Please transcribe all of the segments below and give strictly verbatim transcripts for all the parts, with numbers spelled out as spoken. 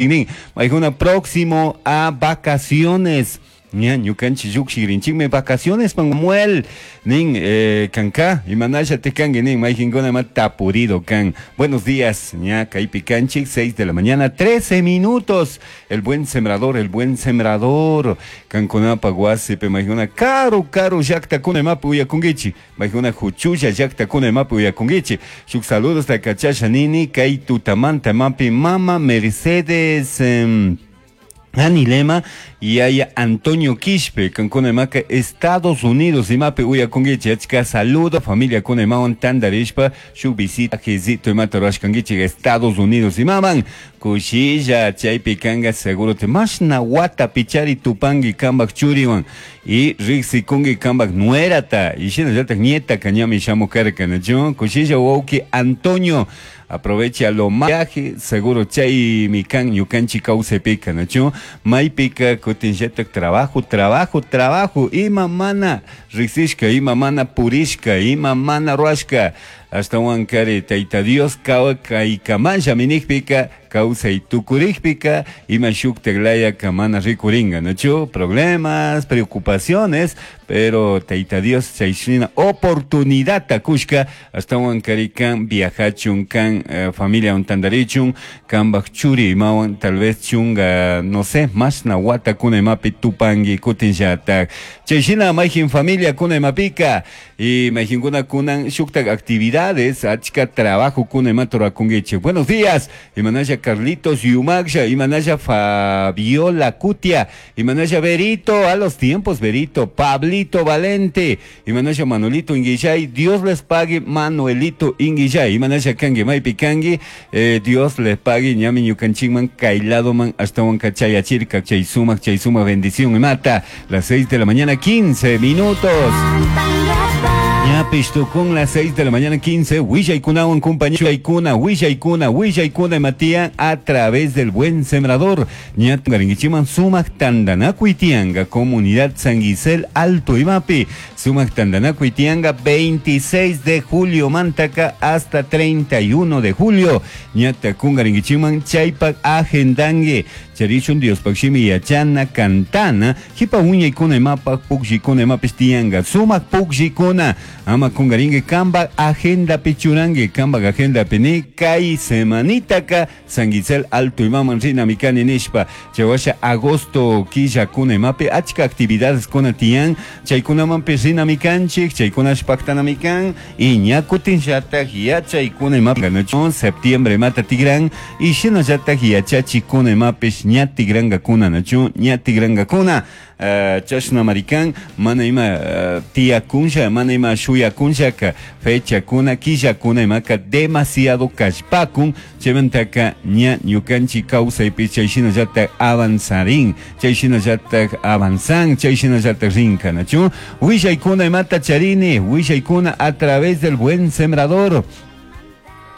Nin, maykuna próximo a vacaciones. Ña ñukanchik llukshikrinchikmi vacaciones Manuel nin eh, kanka imanasha tikanki nin mayqinkuna ima tapurido kan. Buenos días, ña kaypi kanchik seis de la mañana trece minutos. El buen sembrador, el buen sembrador kankunapaq wasipi maykuna karu karu llaqtakuna imapi uyakunkichik maykuna huchulla llaqtakuna imapi uyakunkichik. Shuk saludos takachasha nini kay tutamanta imapi mama Mercedes eh, Anilema y haya Antonio Quispe, kankuna imaka Estados Unidos imapi uyakunkichik achka saludo familia kuna imawan tandarishpa shuk visita jezito imata rurashkankichik Estados Unidos imaman kushilla chaypi kanga seguro te mashna wata pichari tupanki kambak churiwan y riksikunki kambak nuerata y shinallatak nieta kañami shamukarka nachu kushilla wawki Antonio aprovecha lo viaje seguro chay mi kan ñukanchik kawsaypika nachu maypika kutinllatak trabajo trabajo trabajo ima mana riksishka ima mana purishka ima mana ruashka ashtawan kari Tayta Dios kaykamalla minikpika kawsay tukurikpika ima shuktak layaka mana rikuringa nachu problemas preocupaciones pero Tayta Dios chayshina oportunidad kushka ashtawan kari kan viajachun kan eh, familia tantarichun kambak churi imawan tal vez chunga no sé mashna watakuna imapi tupanki kutinllatak chayshina mayjin familia kuna imapika y mayjinkuna kunan shuktak actividades achka trabajo kuna imata rurakunkichik. Buenos días, imanasha Carlitos Yumaksha, imanasha Fabiola Cutia, imanasha Berito, a los tiempos Berito, Pablito Valente, imanasha Manuelito Inguillay, Dios les pague Manuelito Inguillay, imanasha kangi maypi kangi, eh, Dios les pague ñami ñukanchikman kayladoman ashtawan kachayachirka chay sumak chay sumak bendición imata, las seis de la mañana quince minutos. Ñapish tukun las seis de la mañana quince, willaykunawan compañía Willaykuna, willaykuna, willaykuna Matías a través del buen sembrador. Ñatungaringichiman sumak tandanakuy tianga, comunidad San Gisel Alto Imapi. Sumak tandanakuy tianga veintiséis de julio mantaka hasta treinta y uno de julio. Ñatakungaringichiman chaypak agendangue. Charichun Dios pakshimi yachana cantana. Hipa uñaykuna imapak pukllikuna imapis tianga. Sumak pukllikuna. Ama kungaringue kamba agenda pichurangue kamba agenda pini kai semanitaka San Gisel Alto Imaman rina mikani nishpa chawasha agosto killa kuna imapi achka actividades kuna tian chaykunaman rina mikanchik chaykunash paktana mikan y ñakutin llatak yachaykuna imapi ganachu septiembre mata tigran y shinallatak yachachi kuna imapish ña tigranga kuna nachu ña tigranga kuna. Uh, chashna marikan mana ima uh, tiyakunsha mana ima shuyakunshaka fecha kuna killa kuna imaka demasiado kallpakun chaymantaka ña ñukanchik kawsaypi chayshinallatak avanzarin chayshinallatak avanzan chayshinallatak rinka nachu willaykuna imata charini willaykuna a través del buen sembrador.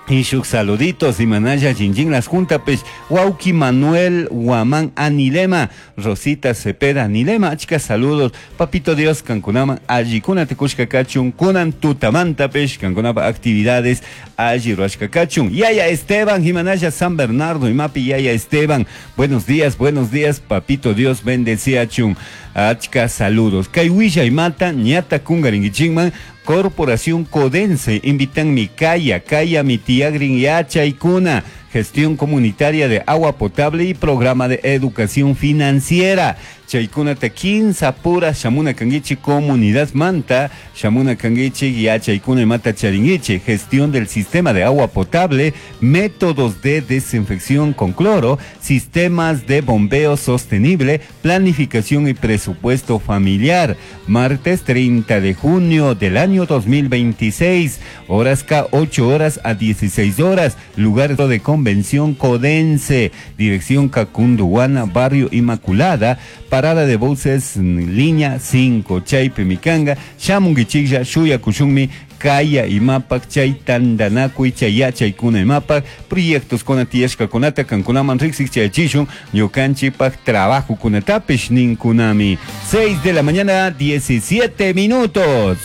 Y shuk saluditos, imanaya chinchín las juntapes, Wauki Manuel Guamán Anilema, Rosita Cepeda Anilema, achka saludos, Papito Dios, Cancunaman, allikuna tekushka kachun, kunan tutamantapes, kankunapa actividades, alli ruashka kachun, Yaya Esteban, Jimanaya San Bernardo, imapi Yaya Esteban, buenos días, buenos días, Papito Dios, bendecía chun, achka saludos, Kaiwisha imata, ñata kungaringichingman, Corporación Codense, invitan mi Calla, Calla, mi tía Grin Yachaykuna, gestión comunitaria de agua potable y programa de educación financiera. Chaykuna ta kinsa pura shamuna kangichi comunidad manta, shamuna kangichi yachaykuna mata charingichi, gestión del sistema de agua potable, métodos de desinfección con cloro, sistemas de bombeo sostenible, planificación y presupuesto familiar. Martes treinta de junio del año dos mil veintiséis, horas K ocho horas a dieciséis horas, lugar de convención Codense, dirección Cacunduana, barrio Inmaculada, parada de buses línea cinco, Chaype Mikanga, Shamungichilla, Shuya Kushunmi, Kaya imapak, chay tandanakuy, chay yachaykuna imapak, proyectos kuna tiyashka kunata, kankunaman riksik chayachishun, ñukanchikpak trabajo kunatapish ninkunami. seis de la mañana, diecisiete minutos.